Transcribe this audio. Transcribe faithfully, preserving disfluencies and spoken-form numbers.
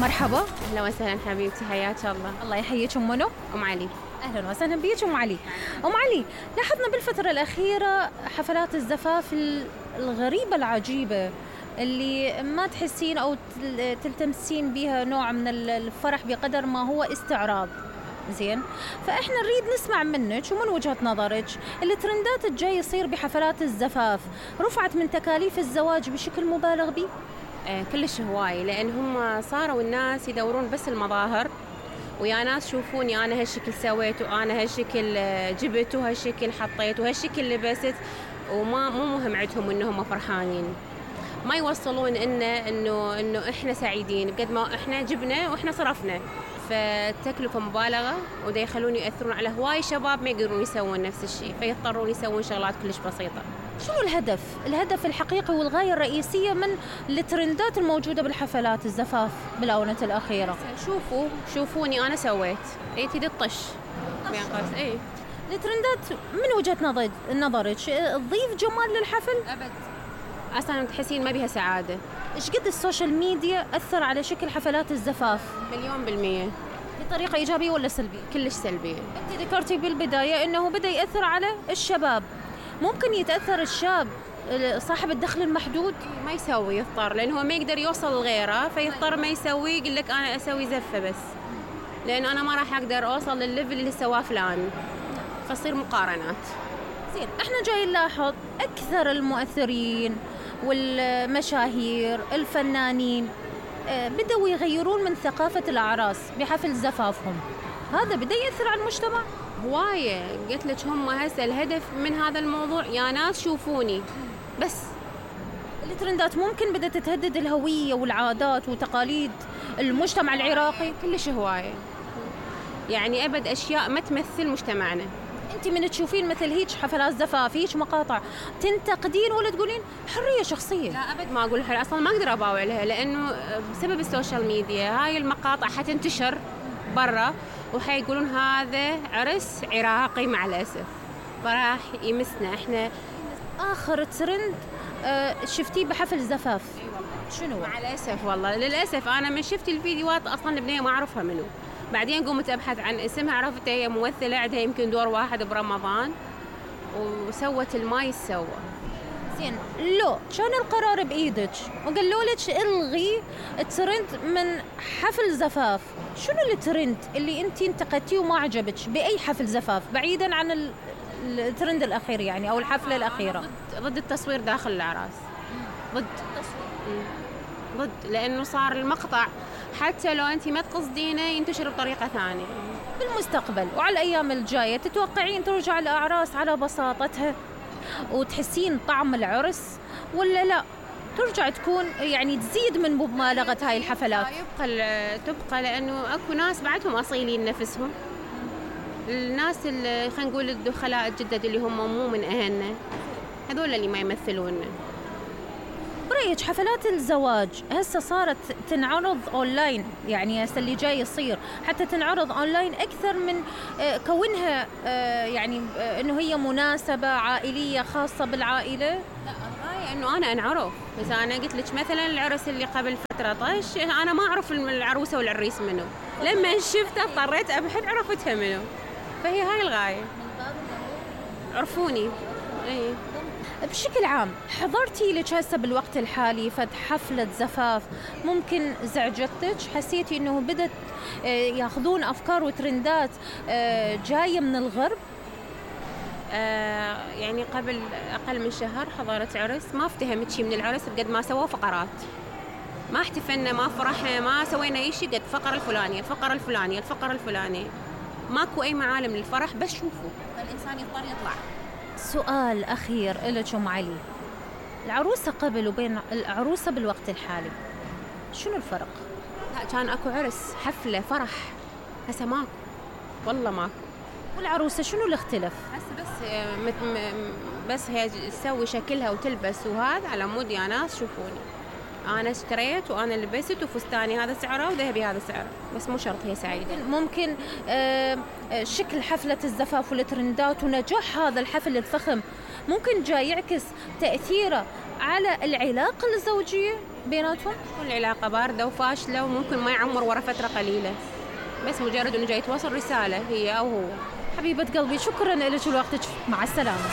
مرحبا. اهلا وسهلا حبيبتي، حياك الله. الله يحييك. ام منو؟ ام علي. اهلا وسهلا بيك ام علي. ام علي، لاحظنا بالفتره الاخيره حفلات الزفاف الغريبه العجيبه اللي ما تحسين او تلتمسين بها نوع من الفرح بقدر ما هو استعراض. زين، فاحنا نريد نسمع منك ومن وجهه نظرك الترندات الجاي يصير بحفلات الزفاف رفعت من تكاليف الزواج بشكل مبالغ به؟ آه كلش هواي، لان هم صاروا الناس يدورون بس المظاهر، ويا ناس شوفوني انا هالشكل سويت وانا هالشكل جبت وهالشكل حطيت وهالشكل لبست، وما مو مهم عندهم انهم فرحانين، ما يوصلون إن انه انه احنا سعيدين بقد ما احنا جبنا واحنا صرفنا. فالتكلفة مبالغة، وده يخلون يأثرون على هواي شباب ما يقدرون يسوون نفس الشيء، فيضطرون يسوون شغلات كلش بسيطة. شنو الهدف؟ الهدف الحقيقي والغاية الرئيسية من الترندات الموجودة بالحفلات الزفاف بالآونة الأخيرة؟ شوفوا شوفوني أنا سويت، إيه تدي الطش بين قوس. إيه الترندات من وجهة نظر نظرك تضيف جمال للحفل؟ أبد، أصلاً تحسين ما بيها سعادة. إيش قد السوشيال ميديا أثر على شكل حفلات الزفاف؟ مليون بالمية. بطريقة إيجابية ولا سلبية؟ كلش سلبية. أنت ذكرتي بالبداية إنه بدأ يأثر على الشباب، ممكن يتأثر الشاب صاحب الدخل المحدود؟ ما يسوي، يضطر، لأنه ما يقدر يوصل لغيره فيضطر ما يسوي، يقول لك أنا أسوي زفة بس، لأن أنا ما راح أقدر أوصل للليفل اللي سواه فلان، فصير مقارنات. زين، إحنا جاي نلاحظ أكثر المؤثرين والمشاهير الفنانين بدأوا يغيرون من ثقافة الأعراس بحفل زفافهم، هذا بدأ يأثر على المجتمع؟ هواية، قلت لك هم هسه الهدف من هذا الموضوع يا ناس شوفوني بس. الترندات ممكن بدأت تهدد الهوية والعادات وتقاليد المجتمع العراقي؟ كلش هواية، يعني أبد أشياء ما تمثل مجتمعنا. أنت من تشوفين مثل هيك حفلات زفاف، هيك مقاطع، تنتقدين ولا تقولين حرية شخصية؟ لا أبد ما أقول حرية، أصلا ما أقدر أباوع لها، لأنه بسبب السوشيال ميديا هاي المقاطع حتنتشر برا وحيقولون هذا عرس عراقي مع الأسف، فراح يمسنا إحنا. آخر ترند آه شفتيه بحفل زفاف شنو؟ مع الأسف والله للأسف أنا من شفت الفيديوهات أصلا البنية ما أعرفها منو، بعدين قمت أبحث عن اسمها، عرفتها هي ممثلة عندها يمكن دور واحد برمضان وسوت الما يسوى. زين، لو كان القرار بإيدك وقالوا لك الغي الترند من حفل زفاف، شنو الترند اللي انت انتقدتيه وما عجبك بأي حفل زفاف بعيدا عن الترند الأخير يعني أو الحفلة الأخيرة؟ ضد, ضد التصوير داخل الأعراس، ضد التصوير، ضد، لأنه صار المقطع حتى لو أنت ما تقصدينه ينتشر بطريقة ثانية. بالمستقبل وعلى الأيام الجاية تتوقعين ترجع الأعراس على بساطتها وتحسين طعم العرس، ولا لا ترجع تكون يعني تزيد من مبالغة هاي الحفلات؟ يبقى تبقى، لأنه أكو ناس بعدهم أصيلين نفسهم، الناس اللي خلينا نقول الدخلاء الجدد اللي هم مو من أهلنا، هذول اللي ما يمثلون. برأيك حفلات الزواج هسه صارت تنعرض أونلاين، يعني هسه اللي جاي يصير حتى تنعرض أونلاين أكثر من كونها يعني إنه هي مناسبة عائلية خاصة بالعائلة؟ لا، الغاية إنه أنا أنعرف، بس أنا قلت لك مثلا العرس اللي قبل فترة طش أنا ما أعرف العروسة والعريس منو، لما شفتها اضطريت أبحث عرفتها منو، فهي هاي الغاية، عرفوني. أي بشكل عام حضرتي لك هسه بالوقت الحالي فد حفلة زفاف ممكن زعجتك؟ حسيتي انه بدت ياخذون افكار وترندات جاية من الغرب؟ آه يعني قبل اقل من شهر حضرت عرس، ما افتهمت شيء من العرس بقد ما سووا فقرات، ما احتفلنا ما فرحنا ما سوينا اي شيء، قد فقرة الفلانية الفقرة الفلانية الفقرة الفلانية، ماكو اي معالم للفرح، بس شوفوا فالانسان يضطر يطلع. سؤال أخير لك أم علي، العروسة قبل وبين العروسة بالوقت الحالي شنو الفرق؟ لا، كان أكو عرس حفلة فرح، هسه ماكو، والله ماكو. والعروسة شنو الاختلاف؟ هسه بس مت بس هي تسوي شكلها وتلبس وهذا على مود يا ناس شوفوني أنا اشتريت وأنا لبست وفستاني هذا سعره وذهبي هذا سعره، بس مو شرط هي سعيدة. ممكن آه شكل حفلة الزفاف والترندات ونجاح هذا الحفل الفخم ممكن جاي يعكس تأثيره على العلاقة الزوجية؟ بيناتهم؟ تكون العلاقة باردة وفاشلة وممكن ما يعمر ورا فترة قليلة، بس مجرد انه جاي توصل رسالة هي او هو. حبيبة قلبي شكرا لك ولوقتك، مع السلامة.